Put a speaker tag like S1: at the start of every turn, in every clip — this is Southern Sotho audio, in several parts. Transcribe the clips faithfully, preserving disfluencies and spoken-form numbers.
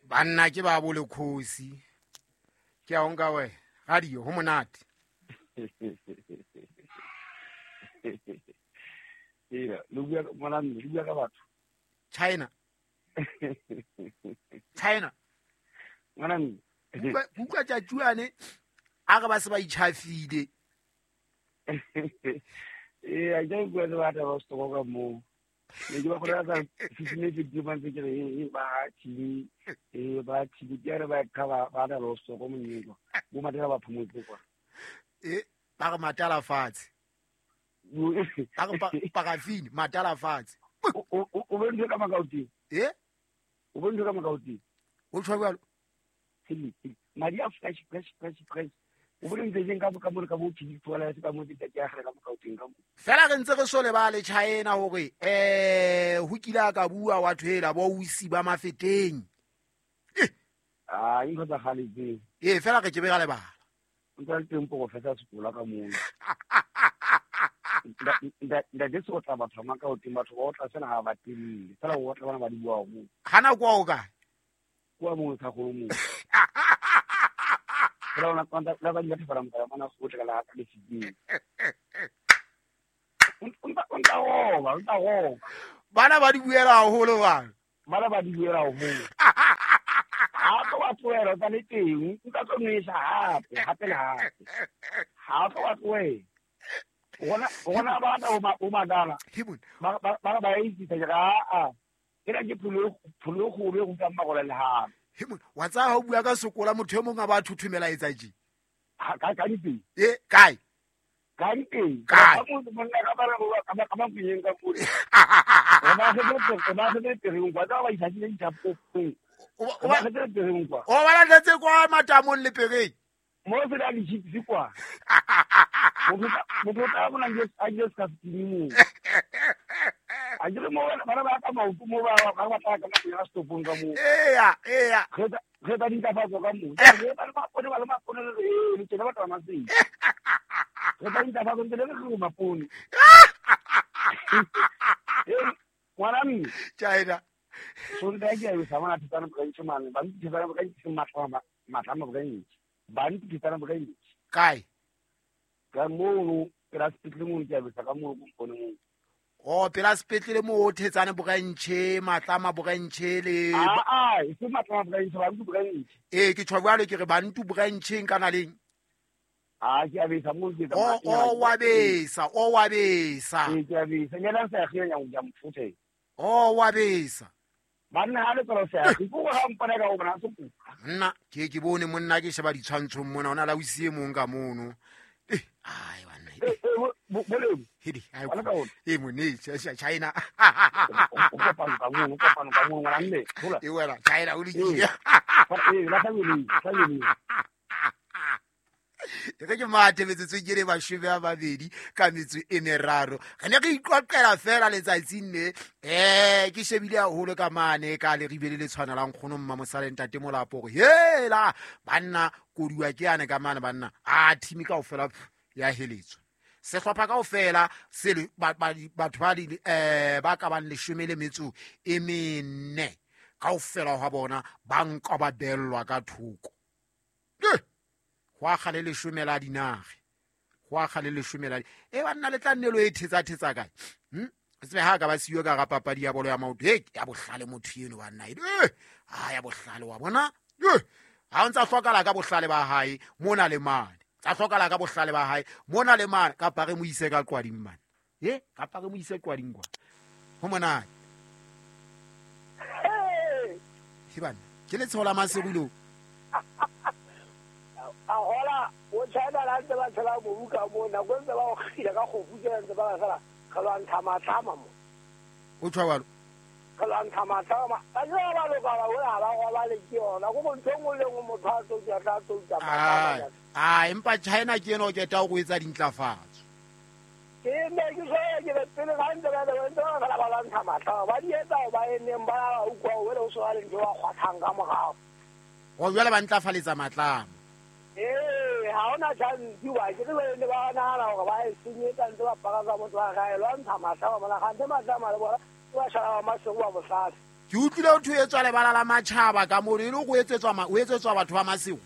S1: Banna ke ba bo lekgosi. Ke a o nka we radio ho monate.
S2: Ee, le bua ngwana mme, le bua ka batho.
S1: China. China.
S2: Ngwana mme.
S1: Buka tsa tjuane a re ba se ba itjhafile.
S2: Ee, a ke bua le batho ba stoko ka mo. Ne ke ba gore ka fifteen fifty ba ntse ke re e ba tshili e ba tshili ke re ba ka ba ba da lo stoko monyeko. Bo matela ba phomotse kwa.
S1: E ba re matala fatshe. Ba re parafini matala fatshe.
S2: O o be ntse ka makauti.
S1: Eh?
S2: O be ntse ka makauti.
S1: O tshwa jwalo.
S2: Madi a fresh fresh fresh fresh. O bone ntse jeng ka ka mo ka mo tshidi tsola se ka mo tse ke a gre ka mo kauteng ka mo.
S1: Fela re ntse re sole ba le China hore eh ho kile ka bua wa thwela bo usi ba mafeteng.
S2: Ah, intho tsa gale tse.
S1: Eh fela re ke be ga lebala.
S2: Ntse le teng professor sekola ka mo. Nda nda de so tla batho ma kauteng batho ba otla sena ha ba teng. Fela o tla bona ba di bua mo.
S1: Hana kwa o ka?
S2: Kwa mo tsa go mo. Ra ona kwanta la ba di fara motala mana go tla la ka le fiteng. Unta unta o ba unta o.
S1: Bana ba di buela haholo ba.
S2: Bana ba di buela haholo. Ha to wa tloela tsa le teng, nka tlo nwesa hape, hape le hape. Ha to wa tloela. Ona ona ba ta o madala. Ba ba ba ba itse ga a. Ke ra ke phulo phulo go be go tsa magola le ha.
S1: Hemon wa tsa ha o bua ka sokola motho e mong a ba thuthumela etsa ji.
S2: Ha ka ka dipeng.
S1: E kae?
S2: Ka dipeng.
S1: Ka
S2: mo monna ka ba re ka ba ka ba piyeng ka pule. Ba se ke ba se ke re ngwa tsa ba isa di tsa popong.
S1: O
S2: ba se ke re ngwa.
S1: O ba latletse kwa matamong le pereng.
S2: Mo se da di chips kwa. Mo mo tla bona nje a nje ska fitini mo. A jere mo bana ba ka maoto mo ba ba ba tla ka mo ya stopong ka mo.
S1: Eya, eya.
S2: Re re ba di ntlafatso ka mo. Re ba le mapone ba le mapone le le tsena ba tla maseng. Re ba ntlafatso ntse le re mapone. Ngwana mme.
S1: China.
S2: Sonta ke a sa bona thetsana branch mane ba ntse ba branch matla matla branch. Ba ntse thetsana branch.
S1: Kae?
S2: Ka mo pela sepetlele mo ke a besa ka mo go mo.
S1: Oh, pela sepetlele mo thetsane branch, matlama branch le
S2: Ah ah, e se matlama branch ba ntse branch.
S1: Eh ke tshwa jwalo ke re ba ntse brancheng kana leng.
S2: Ah, ke a besa mo ke
S1: tsa. Oh, oh wa besa, oh wa besa.
S2: Eh ke a besa, nyana sa genya go ja mfuthe.
S1: Oh wa besa.
S2: Banna ha le tsela sa go go ga mpona ka o bona se go.
S1: Nna ke ke bone monna ke sheba ditshwantshong mona ona la o sie mong ka mono. Eh ai banna.
S2: Eh boleng.
S1: Hedi ai. Eh mone China.
S2: O kopano ka mono, kopano ka mono ngwana mme. Hola.
S1: E wena China o le ke.
S2: Eh la family, family.
S1: Re ke mathe metsotso ke re mashome a mabedi ka metso e meraro. Re ne re iqoqela fela letsatsing le eh ke shebile haholo ka mane ka le ribele le tshwanelang kgono mma mosale ntate Molapo hore hela banna koduwa ke yane ka mane banna a team kaofela ya heletswa. Sehlopha kaofela se batho ba le eh ba ka bang leshome le metso e mene kaofela ha bona ba nka ba bellwa ka thoko. Ho akga le leshome la dinage. Ho akga le leshome la e banna le tla nnelo e thetsa thetsa kae. Hm? Tsebe ha ka ba siyo ka ga papadi ya bolo ya maoto. He ya bohlale motho eno banna. Eh, ha ya bohlale wa bona. Eh, ha o ntsa hlokala ka bohlale ba hae mona le mane. Tsa hlokala ka bohlale ba hae mona le mane kapa re mo ise ka qwading mane. Eh, kapa re mo ise qwading kwa. Ho monate. He bana, ke le tshola maserulo.
S3: A hola o China la ntse ba tshela mobu ka mona go ntse ba o kgila ka go futela ntse ba fela ga lwa ntsha matlama mo
S1: o tshwa jwalo
S3: ga lwa ntsha matlama ba jwa ba loka ba hola ba go ba le ke yona go bontse nngwe le nngwe motho a tlo tla tlo tla
S1: matlama. Ah, empa China ke ena o keta go etsa dintlafatso.
S3: Ke ne ke so ke le pele ga ntse ba ntse ba fela ba lwa ntsha matlama ba di etsa ba eneng ba utlwa o le o so le ntse ba kgwathang ka morao.
S1: Go jwale ba ntlafaletsa matlama.
S3: Eh, ha ona chance wa ke re ne ba nahana hore ba e senyetsa ntse ba paka ka motho wa gae lwa ntsha matlama mona gante matlama le bona ba shala ba masego ba bohlale.
S1: Ke utlwile ho thwe etswa lebala la matjhaba ka mo e le go etsetswa o etsetswa batho ba Masego.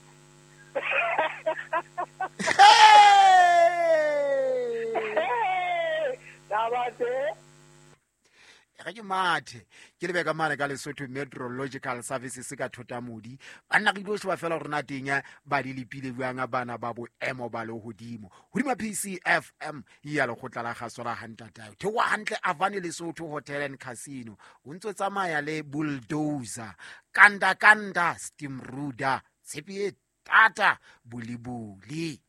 S1: Re ke mathe ke lebe ka mane ka Lesotho Meteorological Services ka Thotamodi banna re dilo sheba fela hore na teng ba di lepile jwang bana ba boemo ba lehodimo hodima P C F M ya lekgotla la kgaso la Hantatayo thewa hantle Avane Lesotho Hotel and Casino o ntso tsamaya le bulldozer kanda kanda steamruder tshepi e tata bulibuli.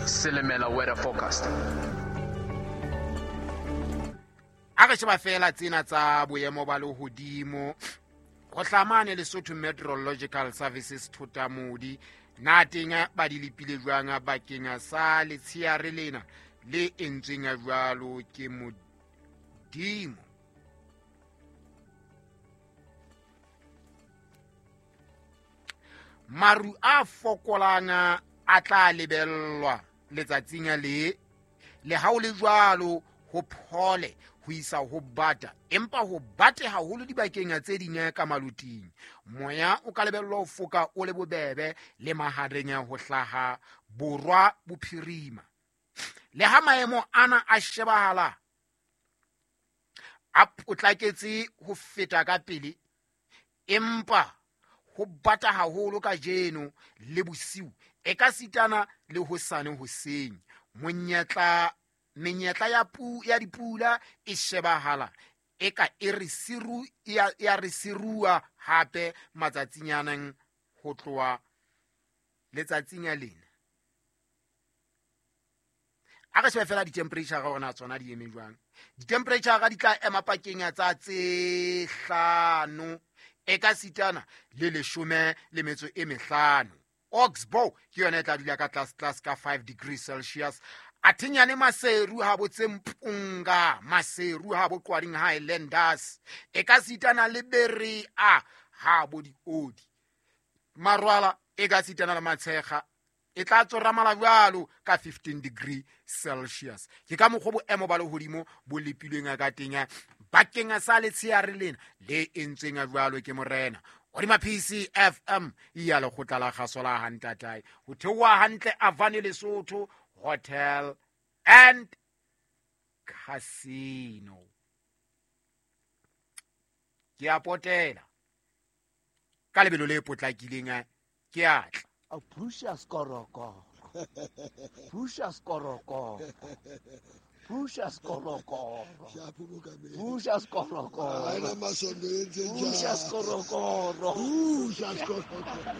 S4: Silimela weather forecast.
S1: A re sheba fela tsena tsa boemo ba lehodimo go hlamane Lesotho Meteorological Services Thotamodi na teng ba di lepile jwang bakeng sa letsheare lena le entsweng jwalo ke Modimo. Maru a fokolang a tla lebellwa letsatsing le le ha o le jwalo ho phole ho isa ho bata empa ho bate haholo dibakeng tse ding ka maluting. Moya o ka lebellwa ho foka o le bobebe le mahareng ho hlaha borwa bophirima. Le ha maemo ana a shebahala a potlaketse ho feta ka pele empa ho bata haholo kajeno le bosiu e ka sitana le hosane hoseng. Monyetla menyetla ya pu ya dipula e shebahala e ka e re siru ya ya re sirua hape matsatsinyana ho tloha letsatsing ya lena. A re shebe fela di-temperature ga ona tsona di eme jwang. Di-temperature ga di tla ema pakeng tsa tse hlano e ka sitana le leshome le metso e mehlano. Oxbow ke yona e tla dula ka tlase tlase ka five degrees Celsius. Athinyane Maseru ha botse Mpunga, Maseru ha bo Qwaring Highlanders. E ka sitana le Berea ha bo diodi. Marwala e ka sitana le Matshega e tla tsoramala jwalo ka fifteen degree Celsius. Ke ka mokgwa boemo ba lehodimo bo lepilweng ka teng bakeng sa letsheare lena le entsweng jwalo ke morena. Hodima P C F M ya lekgotla la kgaso la Hantatae ho theoha hantle Avane Lesotho Hotel and Casino. Ke a potela ka lebelo le potlakileng ke a tla.
S5: A Precious Koroko. Precious Koroko. Precious Koroko. Precious Koroko. Precious Koroko.
S6: Precious Koroko.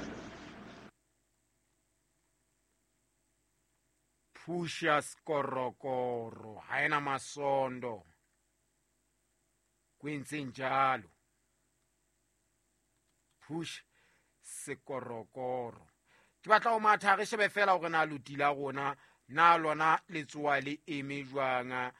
S1: Precious Korokoro. Haena masondo. Kwentse njalo. Push sekorokoro. Ke batla ho matha re shebe fela hore na loti la rona na lona letsoa le eme jwang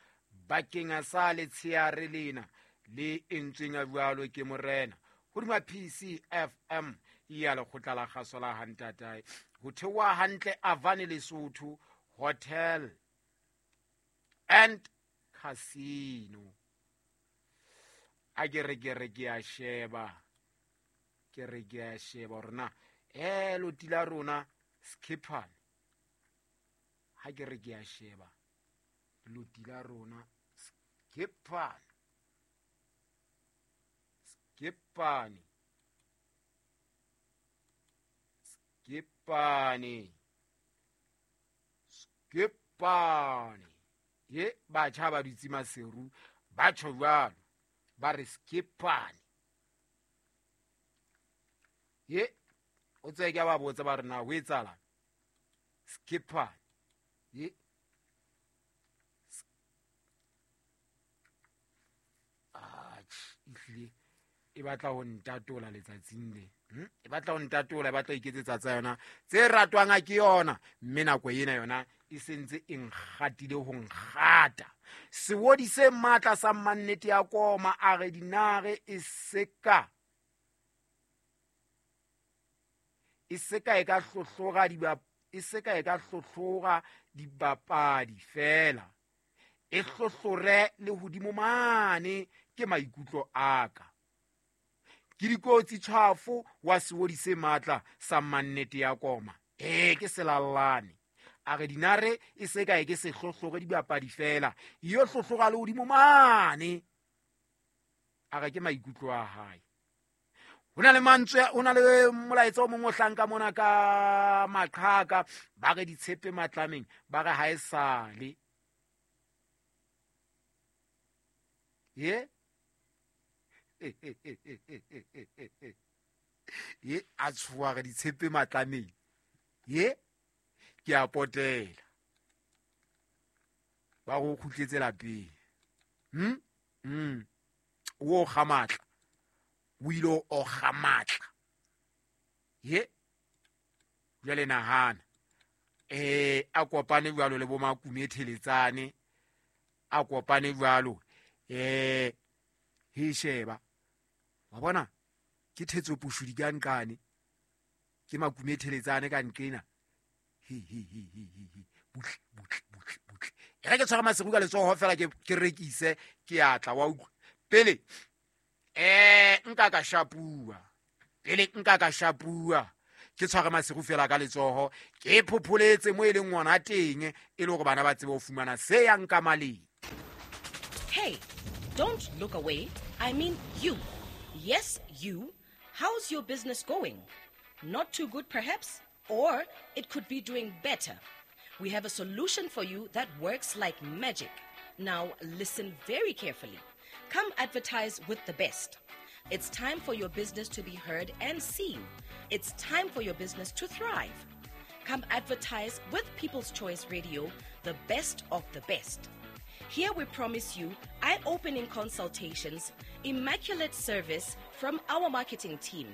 S1: bakeng sa letsheare lena le entsweng jwalo ke morena. Hodima P C F M ya lekgotla la kgaso la Hantatae ho theoha hantle Avane Lesotho Hotel and Casino. A ke re ke re ke a sheba ke re ke a sheba hore na eh loti la rona skippane ha ke re ke a sheba loti la rona skippane skippane skippane skippane ye batjha ba dutse Maseru ba tjho jwalo ba re skippane ye o tse ke ba botsa ba re na ho etsala skippane ye ehlile e batla ho ntatola letsatsing le e batla ho ntatola e batla iketsetsa tsa yona tse ratwang ke yona mme nako ena yona e sentse e nkgatile ho nkgata. Sewodi se matla sa mannete ya koma a re dinare e seka e seka e ka hlohlora diba e se ka e ka hlohlora dibapadi fela, e hlohlore le hodimo mane ke maikutlo a ka. Ke dikotsi tjhafo wa seodi se matla sa mannete ya koma. Eh ke selallane. A re dinare e se ka e ke se hlohlore dibapadi fela, iyo hlohlora le hodimo mane. A re ke maikutlo a hae. Ho na le mantswe, ho na le molaetsa o mongwe o hlanka mona ka maqhaka, ba re ditshepe matlameng, ba re ha e sale. Ye? Ye a tshoha re ditshepe matlameng. Ye? Ke a potela. Ba go kgutletse lapeng. Hm? Mm. O kga matla. O ile o kga matla. Ye? Jwale nahana. Eh a kopane jwalo le bo Makume Theletsane. A kopane jwalo. Eh he sheba. Wa bona? Ke thetso pushudi ka nqane. Ke Makume Theletsane ka nqena. He he he he he. Butle butle butle butle. E re ke tshwara Maseru ka letsoho fela ke ke rekise ke atla wa utlwa. Pele eh nka ka shapua. Pele nka ka shapua. Ke tshwara Maseru fela ka letsoho ke phopholetse mo e leng ngwana teng e le hore bana ba tsebe ho fumana se yang ka maleng.
S4: Hey, don't look away. I mean you. Yes, you. How's your business going? Not too good perhaps? Or it could be doing better. We have a solution for you that works like magic. Now listen very carefully. Come advertise with the best. It's time for your business to be heard and seen. It's time for your business to thrive. Come advertise with People's Choice Radio, the best of the best. Here we promise you eye-opening consultations, immaculate service from our marketing team.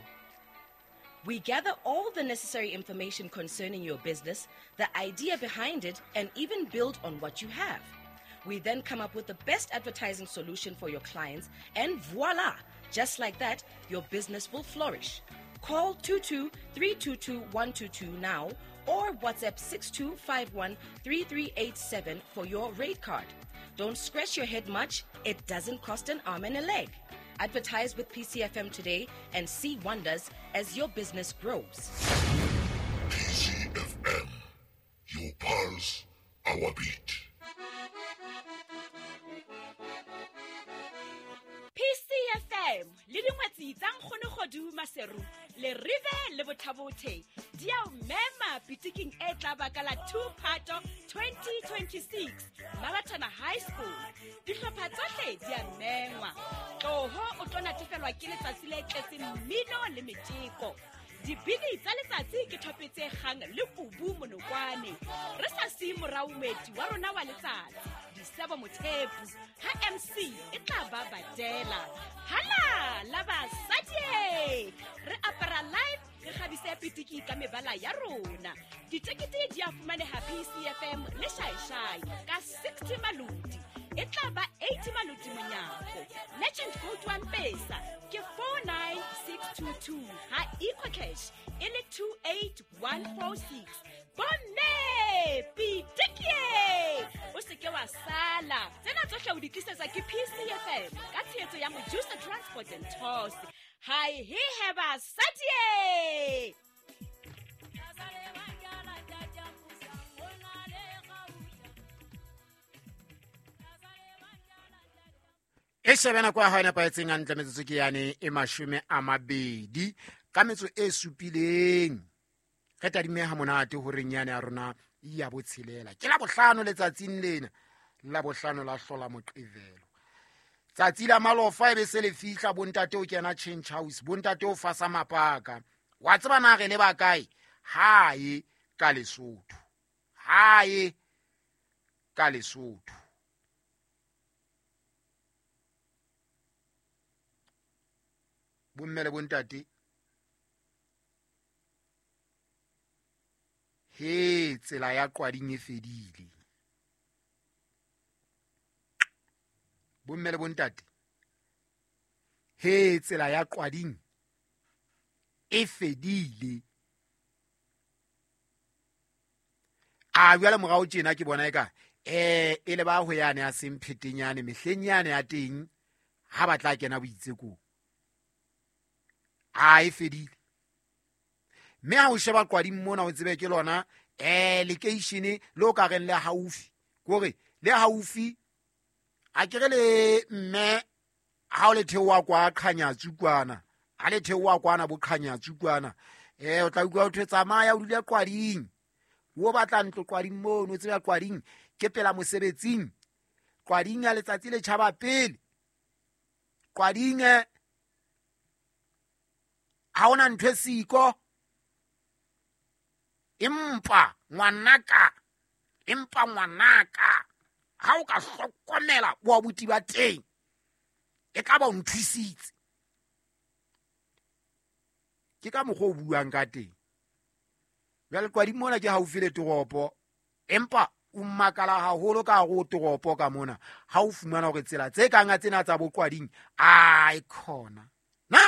S4: We gather all the necessary information concerning your business, the idea behind it, and even build on what you have. We then come up with the best advertising solution for your clients, and voila! Just like that, your business will flourish. Call two two three two two one two two now or WhatsApp six two five one three three eight seven for your rate card. Don't scratch your head much. It doesn't cost an arm and a leg. Advertise with P C F M today and see wonders as your business grows.
S6: P C F M, your pulse, our beat.
S7: P C F M le dingwetsi tsa nkgono Kgodu Maseru le rive le bothabothe di a o mema pitiking e tla baka la two Phato twenty twenty-six Mabatana High School. Dihlopha tsohle di a mengwa. Tloho o tlo natefelwa ke letsatsi le tletseng mmino le metjeko. Dibini tsa letsatsi ke thopetse kgang le kubu monokwane. Re sa siye morao moeti wa rona wa letsatsi, Disebo Mothepu, ha M C e tla ba badela. Hala la basadi! Re apara live, re kgabise pitiki ka mebala ya rona. Ditekete di a fumaneha P C F M le Shaishai ka sixty malodi. E tla ba eighty malodi monyako. Legend code wa Mpesa ke four nine six two two ha EcoCash e le two eight one four six. Bomme pitiki! O se ke wa sala. Tsena tsohle o di tlisetsa ke P C F M ka tshehetso ya Mojusa Transport and Tours. Hi he he basadi!
S1: E shebe nako ya hao e nepahetseng hantle metsotso ke yane e mashome a mabedi ka metso e supileng. Re tadime ha monate horeng yane ya rona ya botshelela. Ke la bohlano letsatsing lena, la bohlano la hlola Moqebelo. Tsatsi la malofa e be se le fihla, bontate o kena change house, bontate o fasa mapaka. Wa tseba na re le ba kae? Hae ka Lesotho. Hae ka Lesotho. Bomme le bontate, he tsela ya qwading e fedile. Bomme le bontate, he tsela ya qwading e fedile. A jwale morao tjena ke bona eka eh e le ba ho yane ya semphetenyane mehleng yane ya teng ha ba tla kena boitsekong. A e fedile. Mme ha o sheba Qwading mona o tsebe ke lona eh lekeishene le o ka reng le haufi. Kore le haufi a kere le mme ha o le theoha kwa Qhanyatsu kwana. Ha le theoha kwana bo Qhanyatsu kwana. Eh o tla utlwa ho thwe tsamaya o dule Qwading. O batla ntlo Qwading mono, o tseba Qwading ke pela mosebetsing. Qwading ya letsatsi le tjhaba pele. Qwading ha ona ntho e siko. Empa ngwanaka, empa ngwanaka ha o ka hlokomela bo abuti ba teng e ka ba o nthusitse. Ke ka mokgwa o buang ka teng. Jwale Qwading mona ke haufi le toropo, empa o makala haholo ka hare ho toropo ka mona ha o fumana hore tsela tse kang tsena tsa bo Qwading ai khona. Na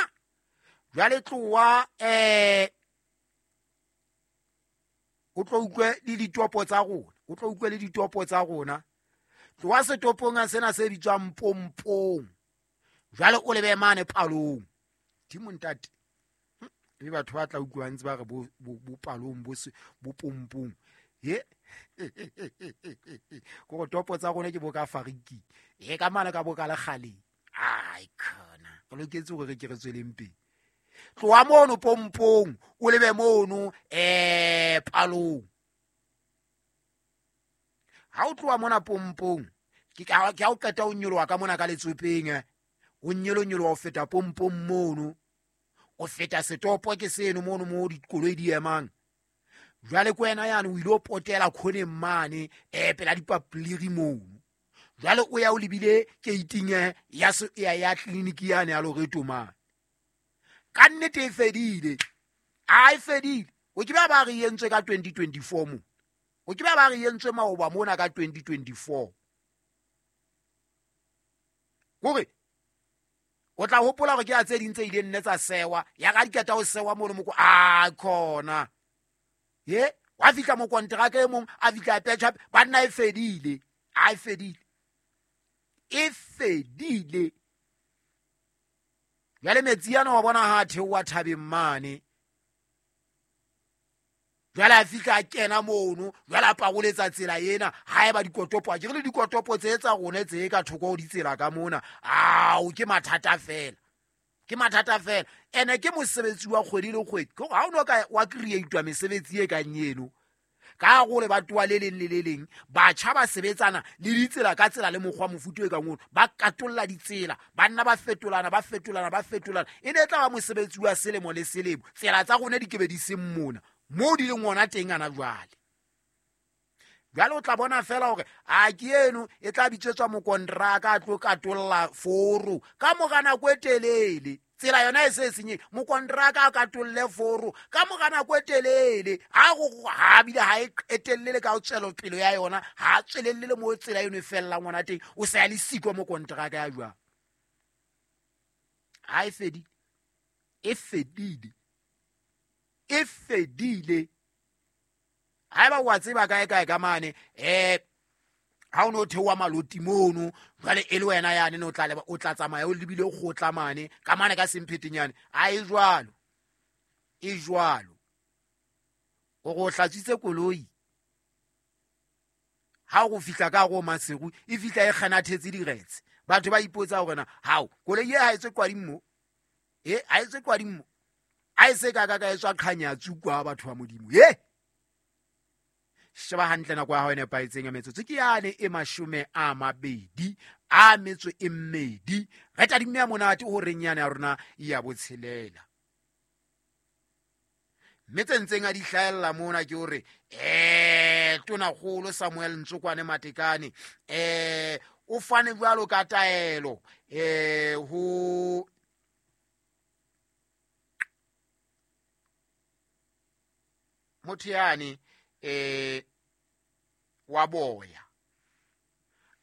S1: jwale tloha eh o tlo utlwe le ditopo tsa rona, o tlo utlwe le ditopo tsa rona. Tloha setopong sena se bitswang Pompong. Jwale o lebe mane Palong. Dimo ntate. Le batho ba tla utlwa ntse ba re bo bo Palong bo bo Pompong. Ye. Ko topo tsa rona ke bo ka fariki. E ka mane ka bo ka lekgaleng. Ai khona. Re loketse hore re ke re tsweleng pele. Tloha mono Pompong, o lebe mono eh Palong. Ha o tloha mona Pompong, ke ka ke ha o qeta o nyoloha ka mona ka letsopeng, o nyolo nyoloha o feta Pompong mono. O feta setopo ke seno mono mo dikoloi di emang. Jwale ko wena yane o ile o potela khoneng mane eh pela dipapliri mono. Jwale o ya o lebile gate-ing ya ya ya clinic yane ya Loreto mane. Ka nnete e fedile. A e fedile. O ke ba ba re entswe ka twenty twenty-four mo. O ke ba ba re entswe maoba mona ka twenty twenty-four. Kore o tla hopola hore ke a tse ding tse ileng nne tsa sewa, ya ka diketa o sewa mono moko a khona. Ye, wa fihla mo kontraka e mong a fihla a patch up, ba nna e fedile. A e fedile. E fedile. Jwale metsi ana wa bona ha theoha thabeng mane. Jwale a fihla a kena mono, jwale a paroletsa tsela ena, ha eba dikotopo, ke re le dikotopo tse tsa rona tse ka thoko ho ditsela ka mona. Ao ke mathata fela. Ke mathata fela. Ene ke mosebetsi wa kgwedi le kgwedi. Ke ha o no ka wa create-wa mesebetsi e kang eno. Ka gore ba toa le leng le le leng, batjha ba sebetsana le ditsela ka tsela le mokgwa mofuta e kang ono, ba katolla ditsela, ba nna ba fetolana, ba fetolana, ba fetolana. E ne e tla ba mosebetsi wa selemo le selemo. Tsela tsa rona di ke be di seng mona, moo di leng ona teng ana jwale. Jwale o tla bona fela hore a ke eno e tla bitsetswa mokontraka a tlo katolla foro ka mora nako e telele. Tsela yona e se senye, mokontraka a katolle foro ka mora nako e telele. Ha go ha bile ha e etellele ka tswelopele ya yona, ha tswelelle mo tsela eno e fellang ona teng, o sa le siko mokontraka ya jwang. Ha e fedile. E fedile. E fedile. Haeba wa tseba kae kae ka mane eh ha o no theoha maloti mono, jwale e le wena yane no tla leba o tla tsamaya o lebile o kgotla mane ka mane ka semphetenyane. A e jwalo. E jwalo. O go hlatsitse koloi. Ha o fihla ka go Maseru, e fihla e kganathetse diretse. Batho ba ipotsa hore na hao koloi e ha e tswe Qwading mo. E ha e tswe Qwading mo. A e se ka ka ka e tswa Qhanyatsu kwa batho ba Modimo. Ye sheba hantle nako ya hao e nepahetseng ya metsotso ke yane e mashome a mabedi a metso e mmedi. Re tadimme ya monate ho reng yane ya rona ya botshelela. Mme tse ntseng a di hlahella mona ke hore eh Tonakgolo Samuel Ntsokwane Matekane eh o fane jwalo ka taelo eh ho motho yane eh wa boya.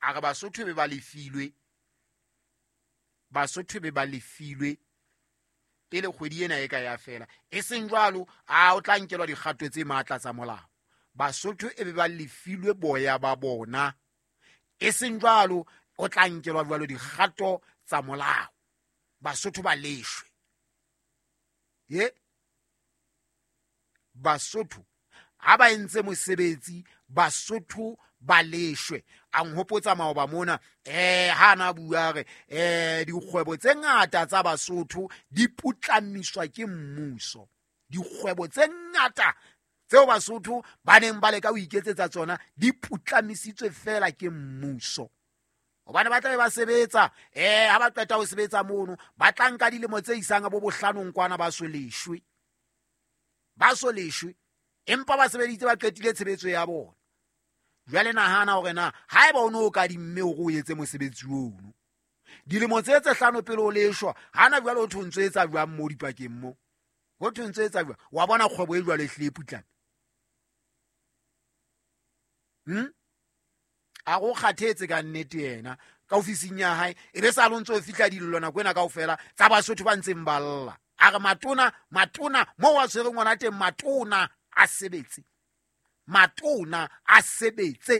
S1: A re Basotho be ba lefilwe, Basotho be ba lefilwe pele kgwedi ena e ka ya fela. E seng jwalo, a o tla nkelwa dikgato tse matla tsa molao. Basotho e be ba lefilwe boya ba bona. E seng jwalo o tla nkelwa jwalo dikgato tsa molao. Basotho ba leshwe. Ye Basotho ha ba entse mosebetsi, Basotho ba leshwe. A nhopotsa maoba mona eh ha na bua re eh dikgwebo tse ngata tsa Basotho di putlamiswa ke mmuso. Dikgwebo tse ngata tseo Basotho ba neng ba leka ho iketsetsa tsona di putlamisitswe fela ke mmuso. Hobane ba tla be ba sebetsa eh ha ba qeta ho sebetsa mono ba tla nka dilemo tse isang bo bohlanong kwana ba so leshwe. Ba so leshwe empa ba sebeditse ba qetile tshebetso ya bona. Jwale nahana hore na haeba o no o ka dimme hore o etse mosebetsi ono dilemo tse tse hlano pele o leshwa, hana jwale o thontso etsa jwang mo dipakeng mo? Ho thontso etsa jwang? Wa bona kgwebo e jwale e hlile putlame. Hmm? A go kgathetse ka nnete yena ka ofising ya hae e be sa lo ntso fihla dillo nako ena kaofela tsa Basotho ba ntseng ba lla. A re matona matona mo wa tshwere ngwana teng matona a sebetse. Matona a sebetse.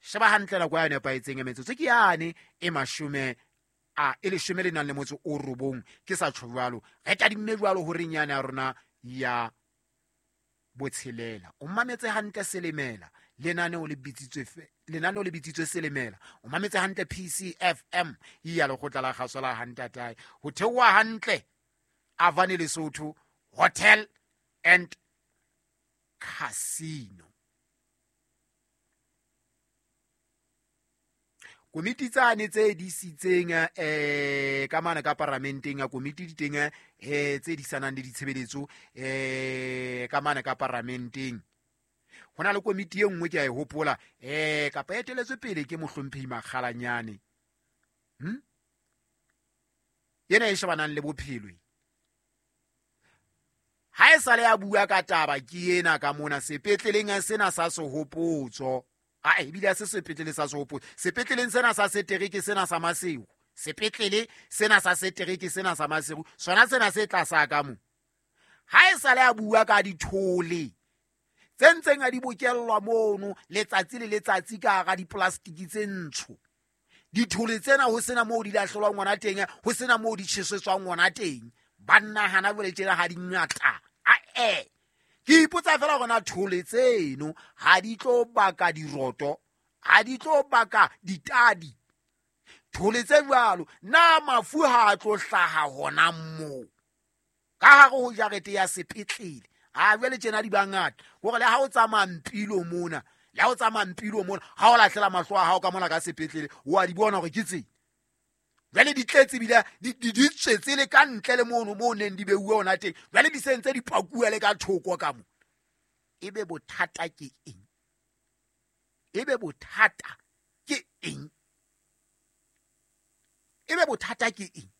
S1: Sheba hantle nako ya nepahetseng ya metsotso ke yane e mashome a e leshome le nang le motso o robong ke sa tjho jwalo. Re tadimme jwalo horeng yane ya rona ya botshelela. O mametse hantle Selemela, lenaneo le bitsitswe lenaneo le bitsitswe Selemela. O mametse hantle P C F M ya lekgotla la kgaso la Hantatae. Ho theoha hantle Avani Lesotho Hotel and Casino. Komiti tsane tse disitseng eh ka mana ka paramenteng ya komiti di teng eh tse disanang le ditshebeletso eh ka mana ka paramenteng. Hona le komiti e nngwe ke a e hopola eh kapa e eteletswe pele ke mohlomphehi Makgalanyane. Hm? Yena e shebanang le bophelo. Ha e sale ya bua ka taba ke ena ka mona sepetleleng sena sa Sehopotso. A ebile se sepetlele sa Sehopotso. Sepetleleng sena sa setereke sena sa Maseru. Sepetlele sena sa setereke sena sa Maseru. Sona sena se tlasa ka mo. Ha e sale ya bua ka dithole tse ntseng a di bokellwa mono letsatsi le letsatsi ka hara diplastiki tse ntsho. Dithole tsena ho sena moo di lahlelwang ngwana teng, ho sena moo di tjhesetswang ngwana teng. Banna hana jwale tjena ha di ngata. A-e. Ke ipotsa fela hore na thole tseno ha di tlo baka diroto, ha di tlo baka ditadi. Thole tse jwalo na mafu ha a tlo hlaha hona moo ka hare ho jarete ya sepetlele. A jwale tjena di bangata hore le ha o tsamaya mpilo mona, le ha o tsamaya mpilo mona, ha o lahlela mahlo a hao ka mona ka sepetlele o a di bona hore ke tse. Jwale di tletse bile di di tswetse le ka ntle le mono mo neng di beuwe hona teng. Jwale di sentse di pakuwa le ka thoko ka mo. Ebe bothata ke eng? Ebe bothata ke eng? Ebe bothata ke eng?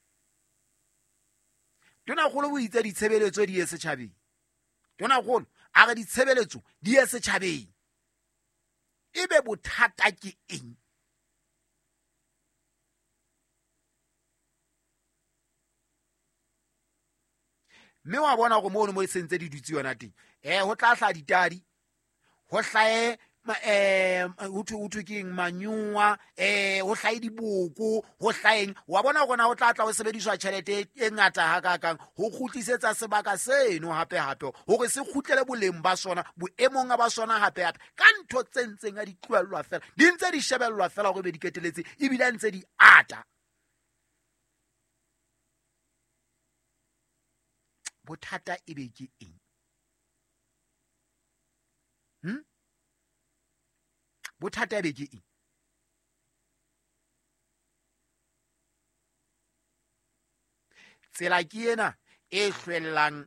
S1: Tonakgolo o itse ditshebeletso di ye setjhabeng. Tonakgolo a re ditshebeletso di ye setjhabeng. Ebe bothata ke eng? Mme wa bona hore mono mo e sentse di dutse yona teng eh ho tla hla ditadi, ho hlae eh ho thwe ho thwe keng manyuwa, eh ho hlae diboko, ho hlaeng. Wa bona hore na ho tla tla ho sebediswa tjhelete e ngata hakakang ho kgutlisetsa sebaka seno hape hape hore se kgutlele boleng ba sona, boemong ba sona hape hape ka ntho tse ntseng a di tlohellwa fela, di ntse di shebellwa fela hore be di keteletse ebile ntse di ata. Bothata ebe ke eng? Hm? Bothata ebe ke eng? Tsela ke ena e hlwellang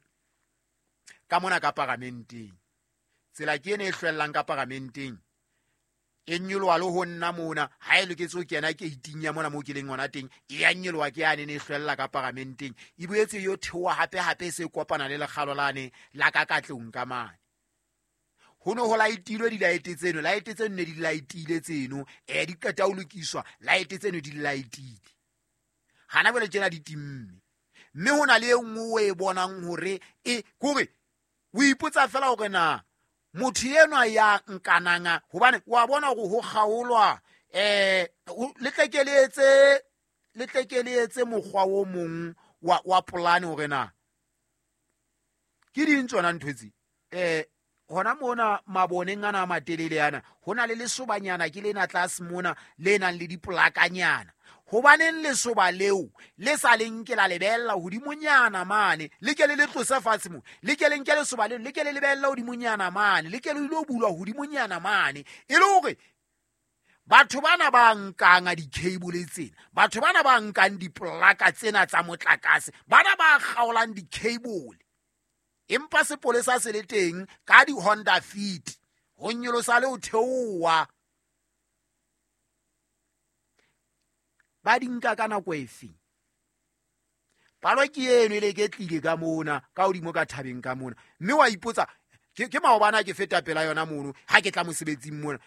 S1: ka mona ka paramenteng. Tsela ke ena e hlwellang ka paramenteng. E nyoloha le ho nna mona ha e loketse ho kena ke itinya mona mo ke leng hona teng e ya nyoloha ke yane ne hlwella ka paramenteng e boetse yo theoha hape hape se kopana le lekgalo lane la ka katlong ka mane. Ho no ho laitilwe dilaete tseno, laete tseno ne di laetile tseno eh di qeta ho lokiswa, laete tseno di laetile hana jwale tjena di timme. Mme hona le e nngwe e bonang hore e kore O ipotsa fela hore na motho enwa ya nkananga hobane wa bona hore ho kgaolwa eh le tle ke le etse le tle ke le etse mokgwa o mong wa wa polane hore na ke ding tsona ntho tse eh hona mona maboneng ana a matelele ana ho na le lesobanyana ke lena tlase mona le nang le dipolakanyana. Hobaneng lesoba leo le sa le nke la lebella hodimonyana mane le ke le le tlose fatshe mo le ke le nke lesoba leo le ke le lebella hodimonyana mane le ke le ilo bulwa hodimonyana mane e le hore batho bana ba nkang di-cable tsena, batho bana ba nkang dipolaka tsena tsa motlakase, bana ba kgaolang di-cable empa sepolesa se le teng ka di-Honda Fit ho nyolosa le ho theoha. Ba di nka ka nako efe? Palo ke eno e le ke tlile ka mona ka hodimo ka thabeng ka mona, mme wa ipotsa ke ke maobana ke feta pela yona mono ha ke tla mosebetsing mona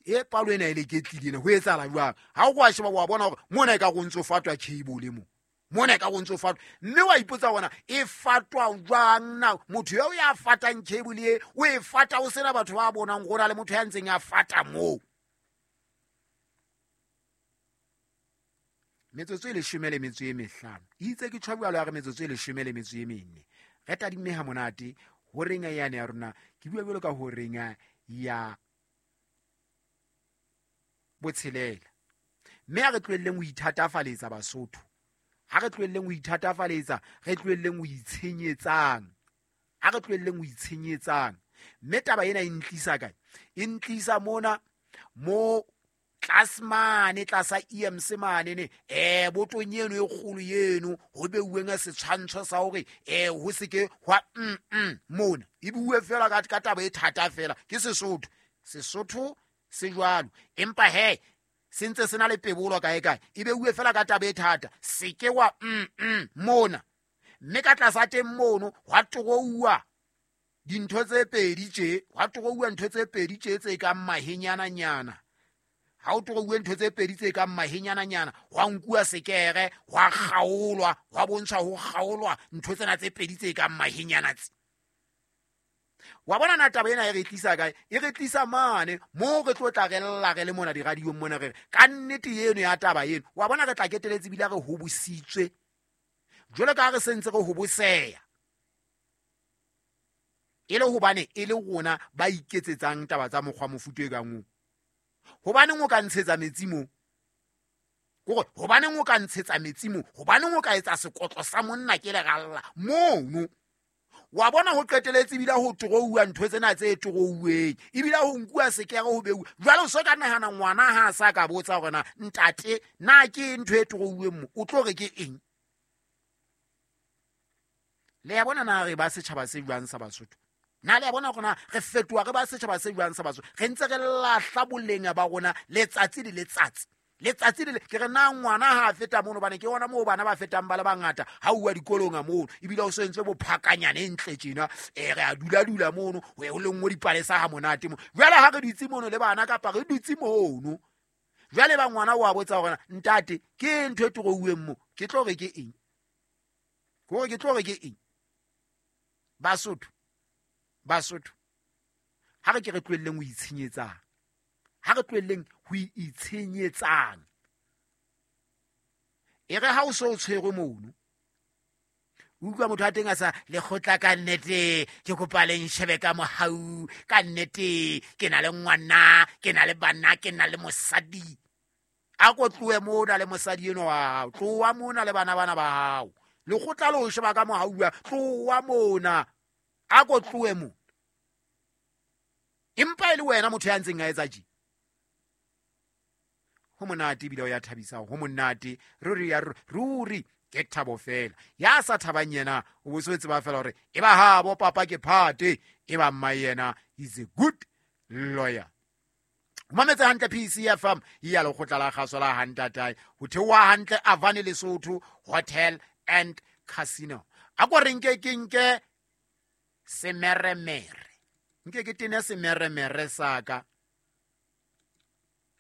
S1: e palo ena e le ke tlile ena ho etsahala jwang? Ha o kwa sheba wa bona hore mona e ka go ntso fatwa cable mo mona e ka go ntso fatwa, mme wa ipotsa hore e fatwa jwang na? Motho eo ya fatang cable e o e fata o sena batho ba bonang gore le motho ya ntseng a fata moo. Metsotso e leshome le metso e mehlano itse ke tjhwa jwalo ya re metsotso e leshome le metso e mene re tadimme ha monate horeng ya yane ya rona ke bua jwalo ka horeng ya botshelela. Mme ha re tlohelleng ho ithatafaletsa Basotho, ha re tlohelleng ho ithatafaletsa, re tlohelleng ho itshenyetsang, ha re tlohelleng ho itshenyetsang. Mme taba ena e ntlisa kae? E ntlisa mona mo tlase mane tlasa E M C mane ne eh botong eno e kgolo eno ho beuweng setshwantsho sa hore eh ho se ke hwa mm mm mona e bue fela ka ka taba e thata fela ke Sesotho. Sesotho se jwalo empa he se ntse se na le pebolo kae kae e beuwe fela ka taba e thata se ke wa mm mm mona. Mme ka tlasa teng mono hwa trouwa dintho tse pedi tje hwa trouwa ntho tse pedi tje tse kang mahenyana nyana. Ha o trouwe ntho tse pedi tse kang mahenyana nyana hwa nkuwa sekere hwa kgaolwa hwa bontsha ho kgaolwa ntho tsena tse pedi tse kang mahenyana tse. Wa bona na taba ena e re tlisa kae? E re tlisa mane mo re tlo tla re lla re le mona diradiong mona re re ka nnete eno ya taba eno. Wa bona re tla keteletse ebile re hobositswe jwalo ka ha re sentse re hoboseya e le hobane e le rona ba iketsetsang taba tsa mokgwa mofuta e kang oo. Hobaneng o ka ntshetsa metsi mo? Kore hobaneng o ka ntshetsa metsi mo? Hobaneng o ka etsa sekotlo sa monna ke leralla mono? Wa bona ho qeteletse ebile ho trouwa ntho tsena tse trouweng ebile ho nkuwa sekere ho beuwa. Jwale o so ka nahana ngwana ha a sa ka botsa hore na ntate na ke ntho e trouweng mo o tlo re ke eng? Le ya bona na re ba setjhaba se jwang sa Basotho? Na le ya bona hore na re fetoha re ba setjhaba se jwang sa Basotho? Re ntse re lahla boleng ba rona letsatsi le letsatsi. Letsatsi le ke re na ngwana ha a feta mono bane ke ona moo bana ba fetang ba le bangata ha uwa dikolong a mono ebile o sentse bophakanyane ntle tjena eh re a dula dula mono ho ye ho le nngwe dipalesa ha monate mo. Jwale ha re dutse mono le bana kapa re dutse mono jwale ba ngwana o a botsa hore ntate ke ntho e trouweng mo ke tlo re ke eng? Ke ke tlo re ke eng? Basotho Basotho ha re ke re tlohelleng ho itshenyetsang, ha re tlohelleng ho itshenyetsang. E re ha o so tshwerwe mono o utlwa motho a teng a sa lekgotla ka nnete ke kopa le nshebe ka mohau ka nnete ke na le ngwana ke na le bana ke na le mosadi. A ko tlohe mona le mosadi eno wa hao, tloha mona le bana bana ba hao, lekgotla le o sheba ka mohau wa tloha mona, a ko tlohe mo. Empa e le wena motho ya ntseng a etsa tje. Ho monate ebile o ya thabisa, ho monate ruri ya ruri ke thabo fela. Ya sa thabang yena o bo so tseba fela hore e ba ha bo papa ke phate e ba mma yena is a good lawyer. Mametse hantle P C F M ya lekgotla la kgaso la Hantatae ho theoha hantle Avani Lesotho Hotel and Casino. A ko re nke ke nke semeremere nke ke tene semeremere saka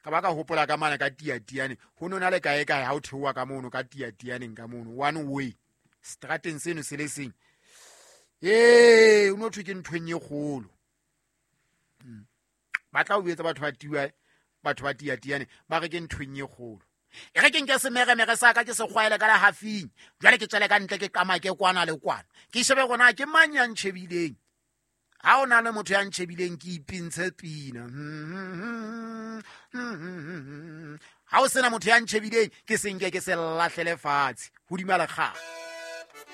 S1: ka ba ka hopola ka mane ka tiatiane ho nona le kae kae ha o theoha ka mono ka tiatianeng ka mono one way strateng seno se le seng Ee, o no thwe ke nthweng e kgolo. Ba tla o etsa batho ba tiwa, batho ba tiatiane, ba re ke nthweng e kgolo. E re ke nke semeremere sa ka ke se kgwaele ka lehafing, jwale ke tswele ka ntle ke qamake kwana le kwana. Ke shebe gona ke mang ya ntjhebileng. Ha o na le motho ya ntjhebileng ke ipintshe pina. Ha o sena motho ya ntjhebileng ke se nke ke se lahlele fatshe hodima lekgala.